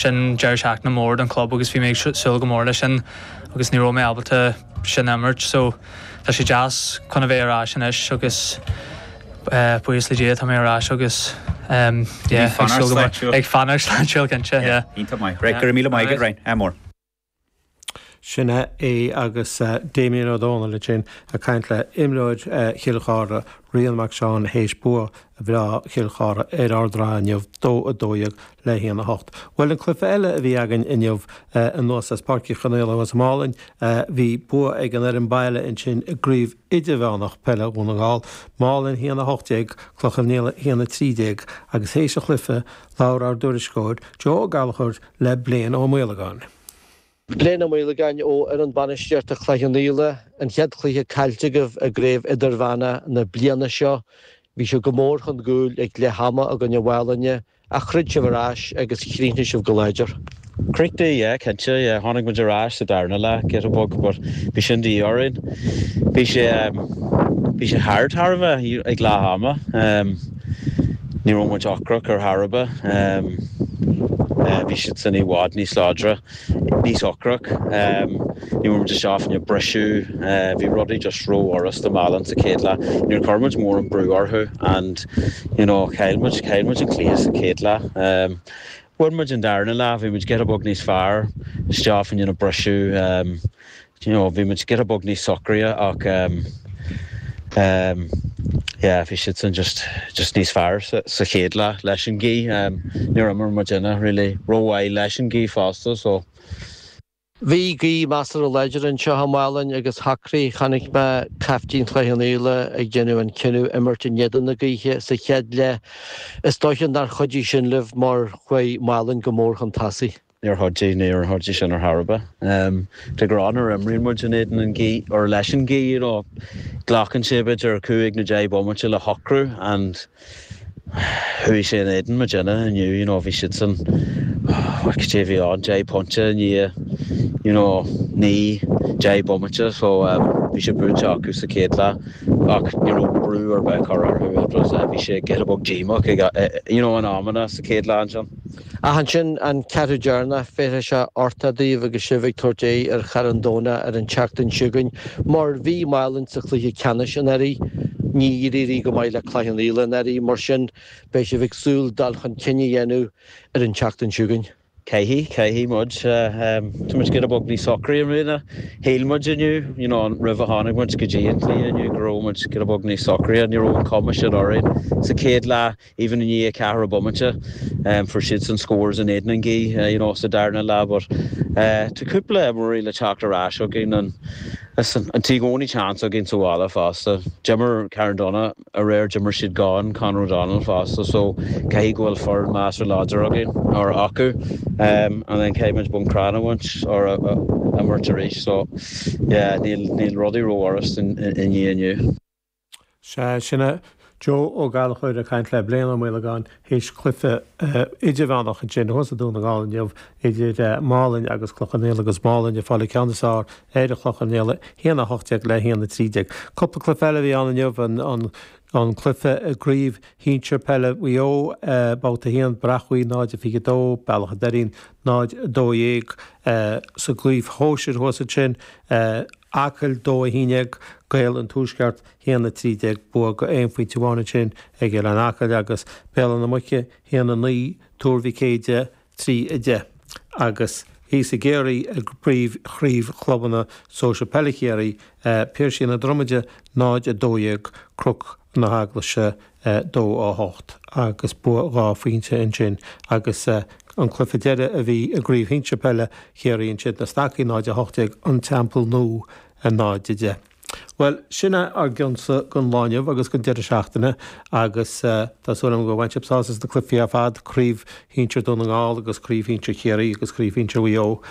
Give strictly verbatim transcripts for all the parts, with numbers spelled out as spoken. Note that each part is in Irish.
Sin deireadh seachtaine mór don club agus bhí mé ag súil go mór leis sin agus ní raibh mé ábalta sin imirt so tá sé deas chun a bheith ar ais anois agus buíochas le Dia tá mé ar ais agus um, yeah, ag fanacht sláintiúil cinnte. Iontach maith. Right, go raibh míle maith agat Ryan, ádh mór. Sin é agus uh, Damien Ó Dónaill sin ag caint le imreoir uh, Chill Chartha Rian Mac Seáin théis bua bhreá Chill Chartha ar Ard an Rátha inniu dó a dó dhéag le haon a hocht. Well an cluiche eile a bhí againn inniu uh, anuas as Páirc Uí Chonghaile sa Málainn uh, bhí bua ag an fhoireann baile ansin i gcraobh idirmheánach peile Dhún na nGall, Málainn haon a hocht déag Cloich Cheann Fhaola haon a trí déag agus théis an chluiche labhair ár dtuairisceoir Joe Ó Gallchóir le Blaine Ó Maolagáin. Blaine Ó Maolagáin ó fhoireann bainistíochta Chloich Cheann Fhaola an chéad chluiche caillte agaibh i gcraobh idirmheánach na bliana seo, bhí sibh go mór chun cúil ag leath ama i gcoinne Mhálainne ach throid sibh ar ais agus chríochnaigh sibh go láidir. Chríochnaigh yeah, cinnte yeah, tháinig muid ar ais sa darna leath giota beag but bhí sin de dhíth orainn. Bhí sé um, bhí sé thar thar a bheith ag leath ama. Um, ní raibh muid ocrach ar chor ar bith. Um, uh, bhí siad san i bhfad níos láidre níos ocrach. Um, ní raibh muid isteach na briseadh, uh, bhí rudaí just rófhurasta Málainn sa chéad leath. Níor chuir muid mór an brú orthu and you know, chaill muid chaill muid an cluiche sa chéad leath. Um, Bhain muid an darna leath, bhí muid giota beag níos fearr isteach in na briseadh um, you know, bhí muid giota beag níos socraithe ach um, um, yeah, bhí siad san just just níos fearr sa, sa chéad leath leis an gaoth um, níor imir muidinne really rómhaith leis an gaoth fosta so Bhí gaoth measartha láidir anseo i Málainn agus shocraigh chonaic mé caiftín Chloich Cheann Fhaola ag déanamh an cinneadh imirt in éadan na gaoithe sa chéad leath. Is dócha nár chuidigh sin libh mar chuaigh Málainn go mór chun tosaigh. Níor chuidigh níor chuidigh sin ar chor ar bith. Um, de ghnáth nuair a imríonn muid in éadan an ghaoth or leis an ghaoth you know, glacann sé b'fhéidir cúig nó deich bomaite le shocrú and chuaigh sé in éadan muidinne inniu you know, bhí siad san what cad é bhí ann deich pointe ní you know, naoi deich bomaite so um, bhí sé buaite acu sa chéad leath ach ní raibh brú ar bith curtha orthu it was uh, bhí sé giota beag díomách ag uh, you know, an amanna sa chéad leath ansin. Ach ansin an ceathrú deireanach féadfaidh sé ortá daoibh agus sibh ag tabhairt aghaidh ar Charn Domhnach ar an tseachtain seo chugainn, mar bhí Málainn sa chluiche ceannais anuraidh, ní d'éirigh go maith le Cloich Cheann Fhaola anuraidh mar sin beidh sibh ag súil dul chun cinn a dhéanamh ar an tseachtain seo chugainn. Caithfidh caithfidh muid um, Tá muid giota beag níos socraí i mbliana. Shíl muid inniu you know, roimh a tháinig muid go dtí an cluiche inniu go raibh muid giota beag níos socraí ní raibh an chuma sin orainn sa chéad leath even i ndiaidh ceathrú bomaite um, fuair siad san scores in éadan an ghaoth uh, you know, sa darna leath but uh, tá cúpla imreoirí le teacht ar ais againn an an tí gcónaí chance againn sa bhaile fosta. D'imir Carndonagh aréir d'imir siad gan Conor O'Donnell fosta so caithfidh go bhfuil foireann measartha láidir againn or acu um, and then caithfidh muid Bun Cranncha a bhaint or a, a, imirt arís so yeah, níl níl rudaí rófhurasta i ndiaidh inniu. Sé sin Joe Ó Gallchóir ag caint le Blaine Ó Maolagáin théis cluiche idirmheánach ansin thuas i Dún na nGall inniu idir Málainn agus Cloich Cheann Fhaola agus Málainn ag fáil an ceann is fearr ar Chloich Cheann Fhaola haon a hocht déag le haon a trí déag. Cúpla cluiche eile a bhí ann inniu an, an an cluiche i gcraobh shinsir peile Mhaigh Eo babhta haon Bearach Buí náid a fiche dó Bealach an Doirín náid dó dhéag sa gcraobh shóisir thuas ansin Acaill dó a haon déag Gaeil an Tuaisceart haon a trí déag bua go aon phointe amháin ansin ag Oileán Acaill agus Béal na Muice haon a naoi Tuar Mhic Éide trí a deich agus thíos i gCiarraí i bpríomh chraobh chlubanna sóisir peile Chiarraí Piarsaigh na Dromaide náid a dó dhéag Cnoc na hEaglaise dó a hocht agus bua dhá phointe ansin agus an cluiche deiridh a bhí i gcraobh shinsir peile Chiarraí ansin na Stacaigh náid a hocht déag an Teampall Nua náid a deich. Well sin é ár gcionsa don lá inniu agus don deireadh seachtaine agus tá súil agam gur bhain sibh sásamh as na cluichí ar fad craobh shinsir Dhún na nGall agus craobh shinsir Chiarraí agus craobh shinsir Mhaigh Eo.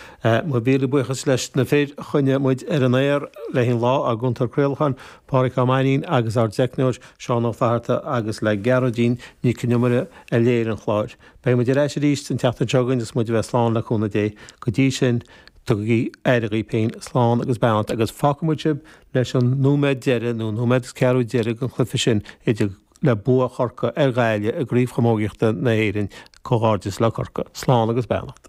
Mo mhíle buíochas leis na fir a choinnigh muid ar an aer le haghaidh an lá ár gcúntóir craolacháin Pádraig Ó Mainnín agus ár dteicneoir Seán Ó Flatharta agus le Gearóidín Nic Con Iomaire a léirigh an clár. Beidh muid ar ais arís an tseachtain seo chugainn is muid a bheith slán le cúnamh Dé go dtí sin tugaigí aire daoibh féin slán agus beannacht agus fágfaidh muid sibh leis an nóiméad deiridh nó nóiméad is ceathrú deiridh den chluiche sin idir le bua Chorcaí ar Ghaillimh i gcraobh chamógaíochta na hÉireann comhghairdeas le Corcaigh, slán agus beannacht.